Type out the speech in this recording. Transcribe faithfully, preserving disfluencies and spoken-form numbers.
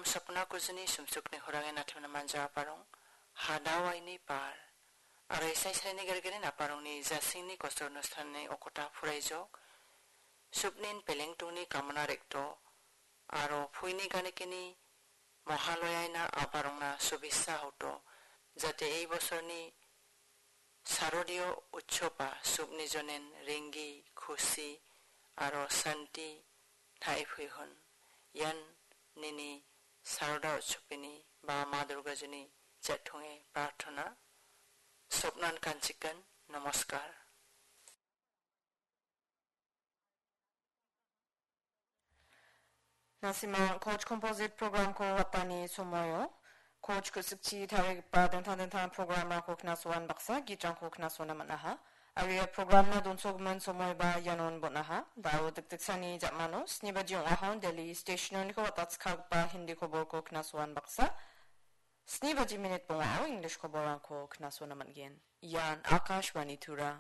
Sopna kujuni sumsukni horangen athemna manja aparong, hadawaini par. Aro isai salini gergerin aparongni jasingni kosor onusthanni okota puraijok, supnin pelengtungni kamana rekto, aro puini ganikini mohaloyaina aparongna subisa hoto, jate ei bosorni sarodio utsoba supni jonen ringgi, khusi, aro santi thaiphuihun. Ian nini saroda utsopini ba Ma Durgajuni jathonge prarthona. Sopnan kanchikan, namaskar. Nasima Coach Composite Program-ko watani somoio, Coach ku·sikchi tarigipa dingtang dingtang programrangko knasoan baksa gitrangko knasona man·aha. Aro ia programna donsogimin somoiba ianon bon·aha. Dao dikdiksani jamano sni baji ong·ahon Delhi stationoniko watatskagipa Hindi koborko knasoan baksa, sni baji minit bongao English koborrangko knasona man·gen. Ian Akashvani Tura.